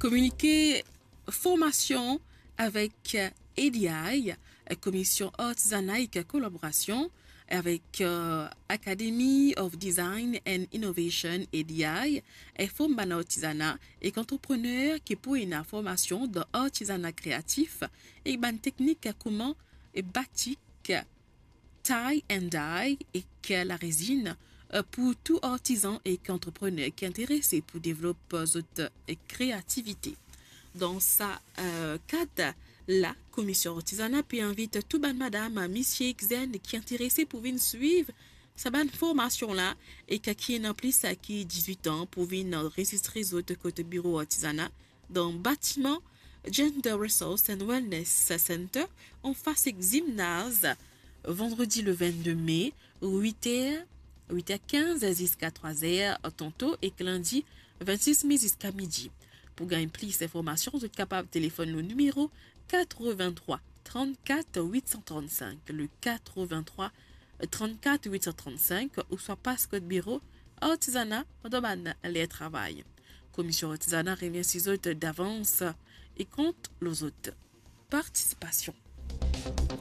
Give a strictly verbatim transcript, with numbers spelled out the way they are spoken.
Kominike formasion avek A D I, Komisyon Artizana, ek kolaborasion avek, eh, Academy of Design and Innovation, A D I, inform bann artizana ek antreprener ki pou ena formasion dan artizana kreatif ek bann teknik kouma batik, tie and dye ek larezinn, eh, pou tou artizan ek antreprener ki interese pou devlop zot, eh, kreativite. Dan sa, eh, kad la, Komisyon Artizana pe invit tou bann madam, misie ek zenn ki interese pou vinn swiv sa bann formasion la, ek ki ena plis ki dizwit an pou vinn anrezistre zot kot biro artizana dan batiman Gender Resource and Wellness Center, anfas ek zimnaz, vandredi le vennde me, wit er, wit er kinz ziska trwa er tanto, ek lindi vennsis me ziska midi. Pou gagn plis informasion, zot kapav telefonn le nimero katreventrwa trannkat wit san trannsink, le katreventrwa trannkat wit san trannsink, ouswa pas kot biro artizana dan bann ler travay. Komisyon Artizana remersi zot davans e kont lor zot partisipasion.